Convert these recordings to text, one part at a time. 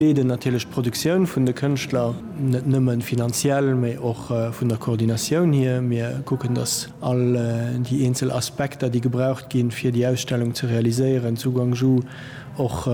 Begleeden natierlech d'Produktioun vun de Kënschtler, net nëmme finanziell, mee och vun der Koordinatioun hier. Mir kucken, datt all déi eenzel Aspekter, déi gebraucht ginn, fir déi Ausstellung ze realiséieren, zu Guangzhou och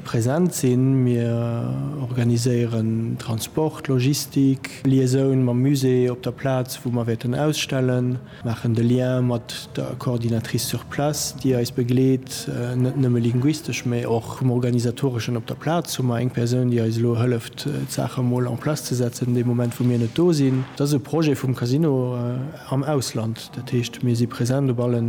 present sinn. Mir organiséieren Transport, Logistik, Liaisoun mam Musée op der Plaz, wou mer wäerten ausstellen. Maachen de Lien mat der Coordinatrice sur place, déi eis begleet, net nëmme linguistesch, mä och vum Organisatoreschen op der Plaz hu mer eng Persoun, déi eis elo hëlleft, d'Saache mol en place ze setzen, dee Moment, wou mir net do sinn. Dat ass e Projet vum Casino am Ausland. Dat heescht, mir si present op alle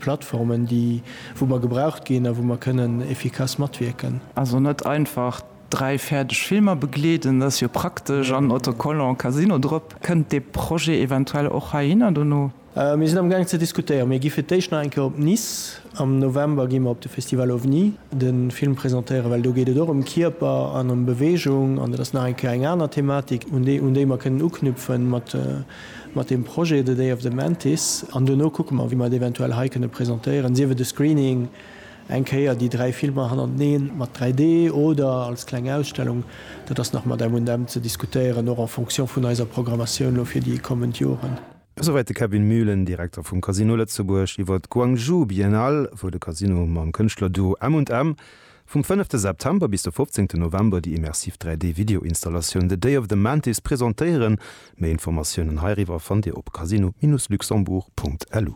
Plattformen, déi, wou mer gebraucht ginn a wou mer kënnen efficace matwierken. Also net einfach 3 fäerdeg Filmer begleeden, dat ass jo praktesch, an Autocollant Casino drop. Kënnt dee Projet eventuell och heihinner dono? Mir sinn am gaang ze diskutéieren. Mir gi fir d'éischt nach eng Kéier op Nice. Am November gi mer op de Festival OVNI de Film presentéieren, well do geet et och ëm Kierper an ëm Beweegung an dat ass nach eng Kéier eng aner Thematik, un déi un déi mer kënnen uknüpfen mat mat deem Projet The Day of the Mantis. An dono kucke mer, wéi mer et eventuell hei kënne presentéieren, sief et e Screening, Eng Kéier déi 3 Filmer hannerteneen mat 3D oder als kleng Ausstellung, dat ass nach mat M&M ze diskutéieren, och en fonction vun eiser Programmatioun elo fir déi kommend Joren. Esouwäit de Kevin Muhlen, Direkter vum Casino Lëtzebuerg, iwwer d'Guangzhou Biennale, wou de Casino mam Kënschtlerduo M&M vum fënnefte September bis de fofzéngten November déi immersiv 3D-Videoinstallatioun The Day of the Mantis presentéieren. Méi Informatiounen heiriwwer fannt Dir op casino-luxembourg.lu.